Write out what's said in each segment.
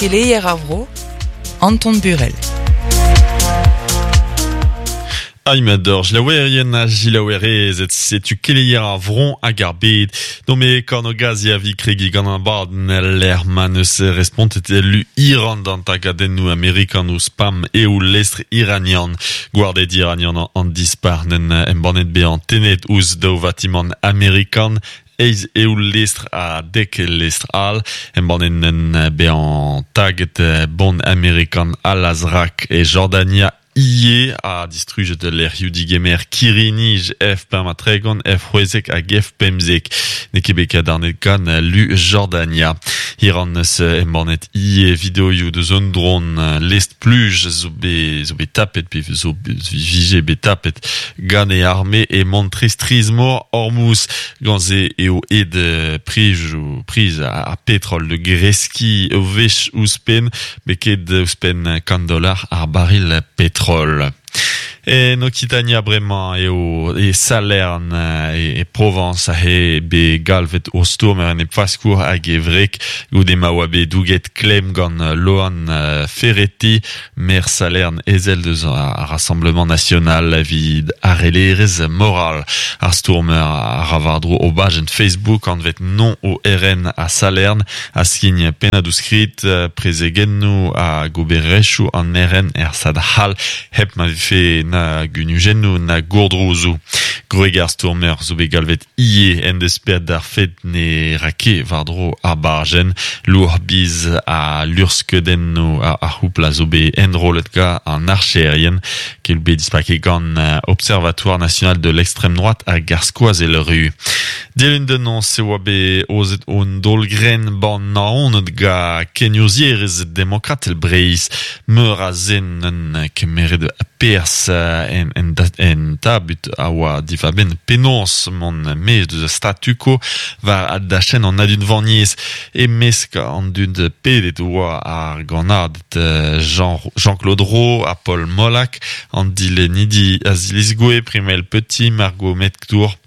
Keleier ar vro, Anton Burel. Aimador, jilaouerien ha jilaouerezed, setu keleier ar vro hag ar bed. Dome kornogazi a vi kregi gant an abadenn lec'h ma neus respontet lu Iran d'an tagadennoù amerikan ouzh spam eo lestr iranian. Gwarded iranian an dispac'h n'en embannet bezañ tennet ouzh daou vatimant amerikan Eizh eo lestr ha dek lestr all. Embannet en bezañ taget bon amerikan Al-Azraq e Jordania ivez ha distrujet lec'hioù digemer kirri-nij F-35, F-16 hag F-15. N'eo ket bet kadarnet gant lu Jordania. Iran eus embannet ivez videoioù deus un dron lestr-pluj zo bet zo bet tapet pe zo vije bet tapet Gant e arme emañ strizh-mor Hormuz. Gant se eo aet priz ar petrol da greskiñ ur wech ouzhpenn, beket ouzhpenn kant dollar ar baril petrol. En Okitania bremañ eo e Salern e Provañs aze bet galvet o stourmer enepfaskour hag e wreg goude ma oa bet douget klemm gant Loan Ferretti Maer Salern, ezel deus ar Rassemblement National evit harellerezh moral. Ar stourmer a ra war-dro o bajenn Facebook anvet Non au RN a Salern a skign pennadoù-skrid, prezegennoù hag obererezhioù an RN er stad c'hall hep ma vefe na gunujennoù na gourdrouzoù. Gwreg ar stourmer zo bet galvet Ivez en deus paeet d'ar fed ne ra ket war-dro ar bajenn. Lourd biz ha luc'hskeudennoù ar c'houpl a zo bet enrollet gant an archerien, ket bet dispaket gant Observatoire national de l'extrême droite hag ar Skoazell Ru. Dilun da noz e oa bet aozet un daol-grenn ban Naoned gant kenurzhierezh demokratel Breizh. Meur a zen en kemeret perzh en, en, en tabut a oa diwar-benn penaos mont maez deus ar statu quo war dachenn an adunvaniezh. E-mesk an dud pedet oa ar gannaded Jean, Jean-Claude Roh ha Paul Molac, an dilennidi Aziliz Goué, Primel Petit, Margot Mettour,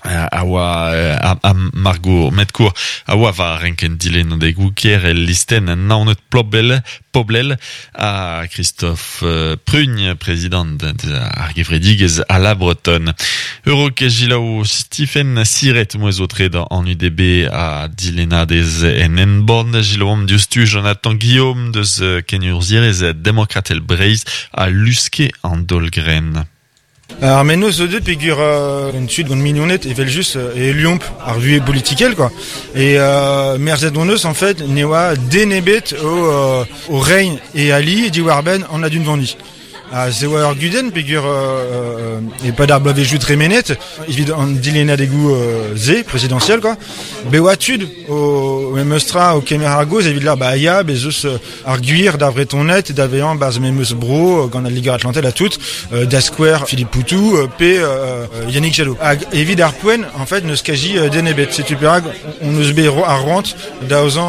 a oa a Margot Metcourt a oa war renkenn dilennadegoù kêr el listenn Naoned Poblel, Poblel ha Christophe Prugne, prezidant ar gevredigezh à la Bretonne. Eurok Gilaou Stephen Siret mouezh o tred an UDB ha dilennadez en Enborn. Gilaouomp diouzhtu Jonathan Guillaume deus kenurzhierezh demokratel Breizh a luske an daol-grenn. Ar mennozh zo deuet peogwir gant tud, gant mignoned evel-just e heuliomp ar vuhez politikel quoi. E merzet hon eus en fait ne oa den ebet o, o reiñ e ali diwar-benn an adunvaniñ. Ha se oa ur gudenn peogwir e-pad ar bloavezhioù tremenet evit an dilennadegoù-se prezidañsiel quoi. Bet oa tud o memes tra o kemer ar gaoz evit lâr bah ya bez eus ar gwir d'ar Vretoned da vezañ 'barzh memes bro gant al Liger-Atlantel ha tout, da skouer Philippe Poutou pe Yannick Jadot. Hag evit ar poent, en fait, n'eus kazi den ebet. Setu perak on eus bet ar c'hoant d'aozañ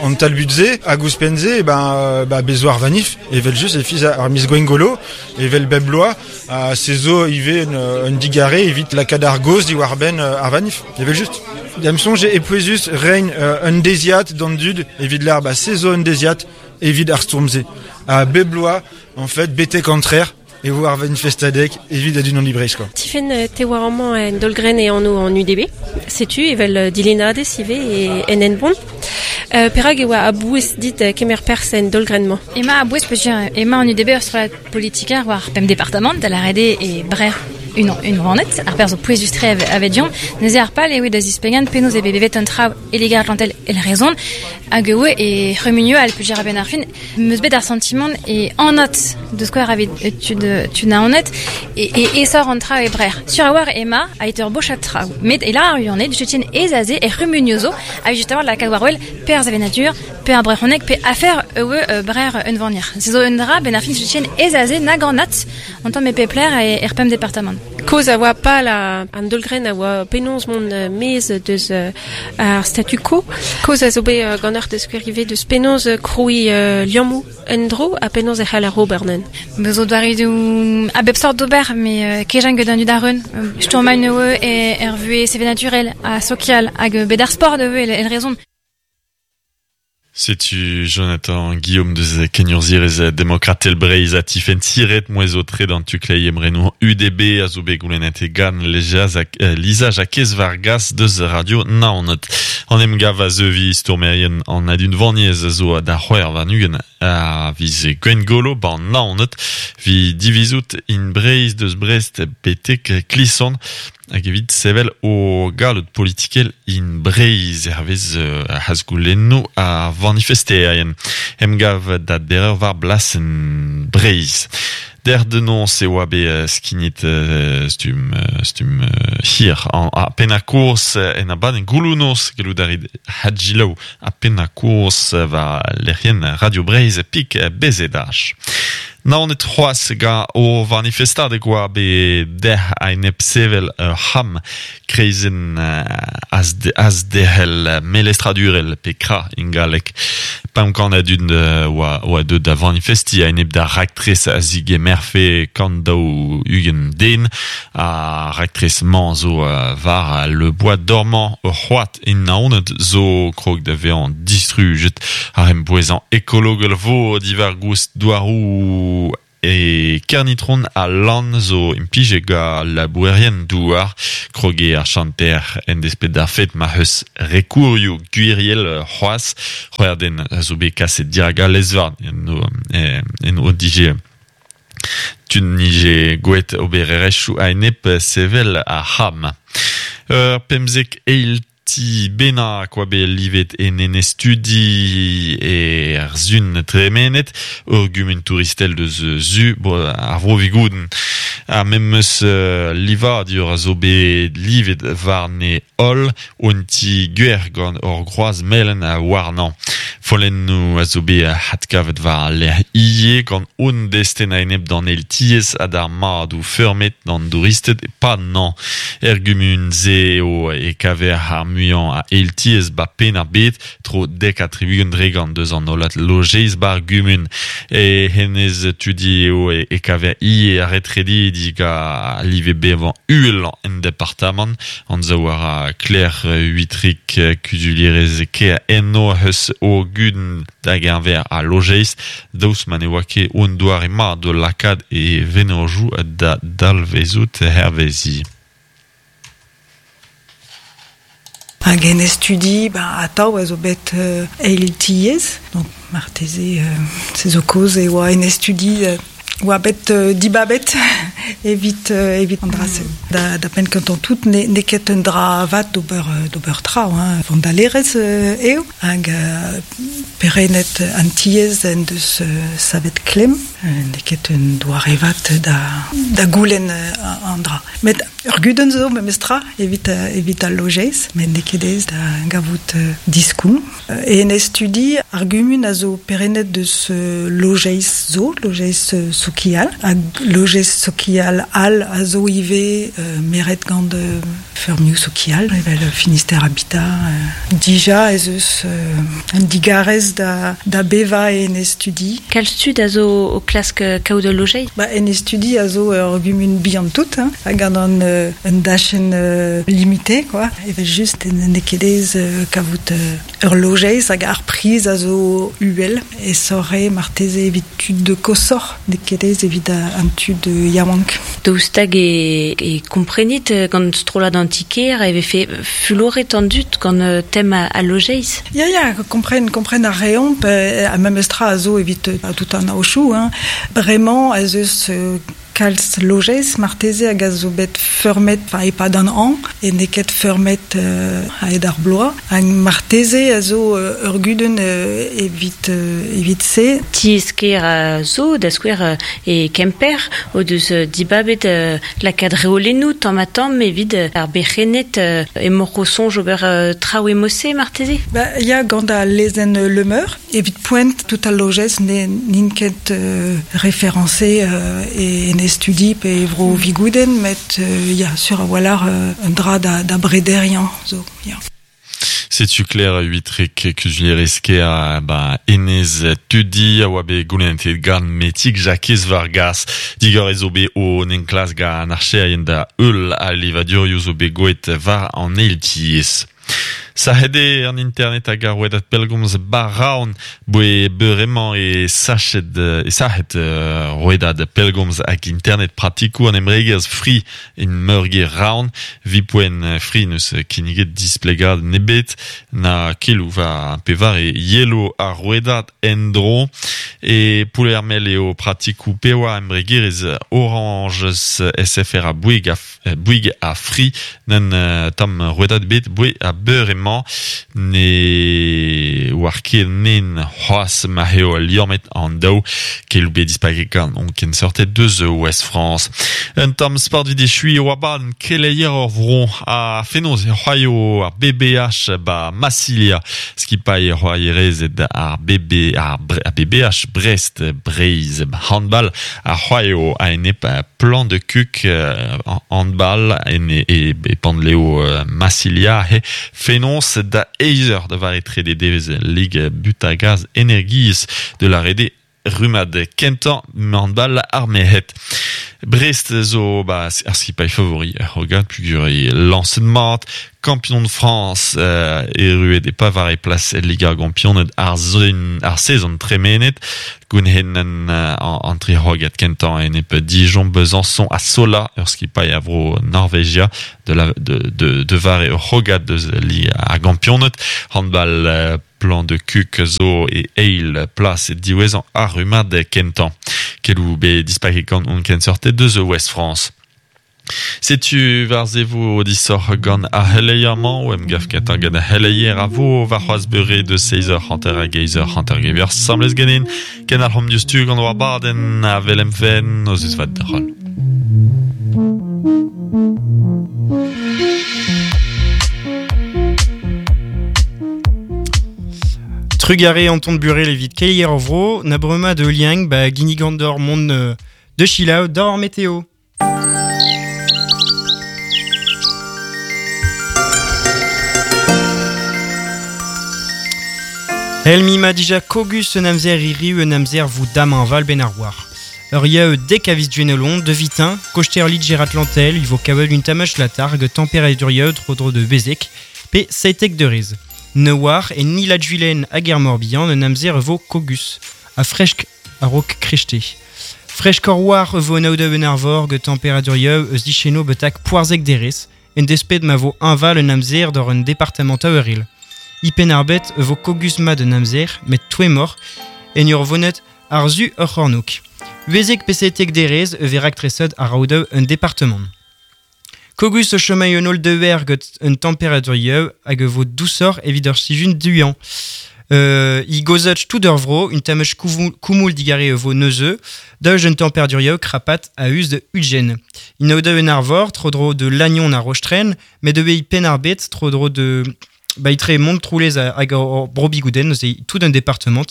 an talbud-se hag ouzhpenn-se, ben, bah, bez zo ar vanif, evel-just, e fiz ar miz Gwengolo, evel bep bloaz, ha se zo ivez un digarez evit lakaat ar gaoz diwar-benn ar vanif, evel-just. Da'm soñj eo pouezus reiñ un deiziad d'an dud evit lâr ba se zo un deiziad evit ar stourm-se. Ha bep bloaz, en fait, betek an trec'h e vo ar vanifestadeg evit adunaniñ Breizh quoi. Tifenn, te oa amañ en Daol-Grenn e anv an UDB. Setu evel dilennadez ivez e, en Henbont. Perak e oa a-bouez dit kemer perzh en daol-grenn-mañ? Emañ a-bouez peogwir emañ an UDB ur strollad politiker war pemp departamant, da lâret eo e Brec'h unvanet, ar perzh zo pouezus-tre avedion. Neuze ar pal eo da zisplegañ penaos eo bet bevet an traoù e Liger-Atlantel el rezon hag eo e c'humunioù all peogwir a-benn ar fin 'm eus bet ar santimant e anat deus skouer aveit tud tud Naoned e aesoc'h an traoù e Brec'h. Sur a-walc'h emañ ait ur bochad traoù met e lâr ar Uyaned soutien aes aze er c'humunioù zo ha just a-walc'h lakaat war-wel perzh sevenadur pe ar brezhoneg pe afer eo Brec'h unvanier. Se zo un dra benn ar fin soutien aes aze nag anat an tamm e pep lec'h er pemp departamant. Kaoz a oa pal an daol-grenn a oa penaos mont maez deus ar statu quo. Kaoz a zo bet ganeoc'h da skouer ivez deus penaos krouiñ liammoù en-dro ha penaos e c'haller ober neuze. Me zo doareoù a bep sort d'ober, met kejañ gant an dud a-reun. Stourmañ eo er vuhez sevenadurel ha sokial hag bet ar sport eo el rezon. Setu Jonathan Guillaume deus kenurzhierez demokratel Breizh ha Tifenn Siret mouezh o tre d'an tu kleiz emrenour UDB a zo bet goulennet e gant Lisa Jakez Vargas deus Radio Naoned. An emgav a zeuvi stourmerien an adunvaniezh a zo da c'hwec'h warn-ugent a viz Gwengolo ban Naoned vi divizout in Breizh deus Brest betek Klison Hag evit sevel o galloud politikel in Breizh hervez azgoulennoù ar vanifesterien. Emgav da dereür war blasenn Breizh. Dec'h da noz e oa bet skignet stumm stumm hir ar pennañ-kozh en abadenn gouloù-noz. Gallout a rit hadjilaou ar pennañ-kozh war lec'hienn Radio Breizh pik BZH. Naoned c'hoazh gant o vanifestadeg oa bet dec'h a-enep sevel ur c'ham kreizenn azderc'hel melestradurel pe kra en galleg. 500 a dud oa deuet da vanifestiñ a-enep d'ar raktres a zigemerfe 140 den. Ar raktres-mañ zo war Le Bois Dormant, ur c'hoad e Naoned zo krog da vezañ distrujet. Ar embouezañ ekologel vo diwar-goust douaroù e Kernitron ha Lann zo implijet gant labourerien douar. Krog eo ar chanter en desped d'ar fed ma c'heus rekourioù gwiriel c'hoazh. C'hwec'h den a zo bet kaset dirak al lez-varn en o dije tud 'nije gwelet obererezhioù a-enep sevel ar c'ham. Ur 15 eil ti bennak oa bet livet en enez-studi er sun tremenet, ur gumun touristel deus su ar Vro-Vigoudenn. Ar memes livadur a zo bet livet warne holl Un ti gwer gant ur groaz melen warnañ. Follennoù a zo bet adkavet war al lec'h ivez gant un destenn a-enep d'an eil tiez ha d'ar madoù feurmet d'an douristed e-pad nañ. Er gumun-se eo e kaver ar muiañ a eil tiez 'ba Penn-ar-Bed, tro 70% deus an hollad lojeiz 'bar gumun. E hennezh tudi eo e kaver ivez ar retredidi gant live bevañ uhelañ en departamant. Anzav a ra Claire Huitrig, kuzulierez kêr eno eus o gudenn da geñver al lojeiz, daoust ma ne oa ket un doare mat d'o lakaat e vennozhioù da dalvezout hervezi. Hag en e studi, ba, atav a zo bet eil tiez. Donc marteze se zo kaoz e oa en e studi oa bet dibabet evit evit an dra-se. Da, da penn kentañ tout n'eo ket un dra vat d'ober d'ober traoù, hein. Vandalerezh eo hag perennet an tiez en deus savet klemm. N'eo ket un doare vat da, da goulenn an dra. Met ur gudenn zo memestra evit evit al lojeiz, met n'eo ket aes da gavout diskoulm. En e studi, ar gumun a zo perennet deus lojeiz zo, lojeiz sokial, hag lojeiz sokial all a zo ivez meret gant feurmioù sokial, evel Finistère Habitat. Dija ez eus un digarez da, da bevañ en e studi. Kalz tud a zo o klask kaout ul lojeiz? Ba, en e studi a zo ur gumun bihan-tout, hein, hag gant an, un dachenn limité, quoi. Evel-just n'eo ket aes kavout ur lojeiz hag ar priz a zo uhel. Aesoc'h eo marteze evit tud koshoc'h, n'eo ket aes evit an tud yaouank. Daoust hag e komprenit gant strollad an ti-kêr e vefe fuloret an dud gant tem al lojeiz? Ya, ya, kompren, kompren a reomp, ha memes tra a zo evit tout an aochoù. Hein. Bremañ ez eus kalz lojeiz marteze hag a zo bet feurmet enfin, e-pad an hañv e n'eo ket feurmet a-hed ar bloaz. Hag marteze a zo ur gudenn evit evit se. Tiez-kêr a zo, da skouer e Kemper, o deus dibabet lakaat reolennoù tamm-ha-tamm evit ar berc'henned emaoc'h o soñj ober traoù e-mod-se marteze? Ba, ya, gant al lezenn Le Meur. Evit poent, tout al lojeiz n'int ket référencé en e studi pe e vro Vigoudenn, met ya, sur a-walc'h un dra da, da brederiañ zo, ya. Setu Claire Huitrec, kuzulierez kêr ba Enez Tudi a oa bet goulennet gant Metig Jakez Vargas. Digor zo bet o enklask gant an archerien da heul al livadurioù zo bet goet war an eil tiez. Sa hede an internet hag ar rouedad pellgomz Baraon boe beuremañ e sachet e sachet rouedad pellgomz hag internet pratikoù an embregerezh Free in meurgêr Raon vi poent Free neus kinniget displegad nebet na keloù war pevar e yelo ar rouedad en-dro e Plouermel eo pratikoù pewa embregerezh Orange SFR ha Bouygues Bouygues ha Free n'en tamm rouedad bet boe a beuremañ ne oar ket nen c'hoazh ma eo liammet an daou keloù bet dispaket gant on kenseurted deus Ouest France. Un tamm sport evit echuiñ oa ban keleier ur vro ha fenoz e c'hoaio ar BBH ba Massilia skipailh c'hoarierezed ar BB ar BBH Brest Breizh handball a c'hoaio a-enep Plan de Cuc handball en e, e Panleo Massilia he fenoz da eizh eur da vare trede devezh Lig Butagaz Energiezh de la rede rummad kentañ handball ar merc'hed. Brest zo ba ar skipailh favori er c'hrogad pugur eo lañset mat Kampion de France erruet e pavare plas el Liga Gampioned ar ar sezon tremenet gounhennen an tri c'hrogad kentañ enep Dijon Besançon ha Sola ur skipailh a vro Norvegia de la de de de vare ur c'hrogad deus Liga ar Gampioned handball Plan de Cuc zo e eil plas diwezhañ ar rummad kentañ. Keloù bet dispaket gant hon kenseurted deus Ouest France. Setu war-se vo disoc'h gant ar c'heleier-mañ o emgav kentañ gant ar c'heleier a vo warc'hoazh beure deus 7h50 hag 8h50 gevier asambles ganin. Kenalc'homp diouzhtu gant war badenn a Velemfen, nozvezh vat deoc'h holl. Trugare Anton Burel evit keleier ar vro, na bremañ de liang ba ginnigan d'or mont de Chilaou d'or météo. Elmi ma dija kogus un amzer hiriv un amzer vo damhañval ben ar war. Ur yaou dek a viz Gwenelon, de vitin, koster Liger Atlantel, il vo kavet un tamach latar hag temperadur yaou tro-dro de Bezek, pe seitek deurez. Ne oar e ni la Juilen hag er Morbihan un amzer vo kogus, ha fresk a-raok krechte. Freskoc'h war e vo an aodoù en arvor gant temperaturioù eus dicheno betek poarzhek derez, en desped ma vo hañval un amzer d'hor un departamant aouril. E Penn-ar-Bed e vo kogus-mat un amzer, met toemmoc'h, en ur vonet ar su ur c'hornôg. Uezek pe setek derez e vez raktreset ar aodoù un departamant. Kogus o chomay un holl deuer gant un temperaturioù hag e vo dousoc'h evit ur sizhun duañ. I gozach tout ur vro, un tamach koumoul digare e vo neuze, daou un temperaturioù krapat a-us de Ugen. In aodoù en arvor, tro-dro de Lannion ha Rostren, met ivez Penn-ar-Bed, tro-dro de ba etre Montroulez hag ar Bro-Bigouden, neuze tout un departement.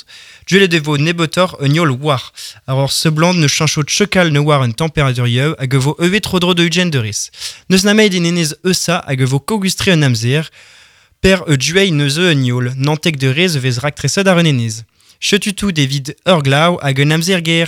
Duelet e vo nebeutoc'h un yol war. Ar ur seblant ne cheñcho chekal ne war un temperaturioù hag e vo ivez tro-dro de Ugen derez. N'eus nemet en enez Eusa hag e vo kogustre un amzer, per e dueiñ neuze un yol, nantek derez e vez raktreset ar un enez. Chetu tout evit ur glav hag un amzer ger.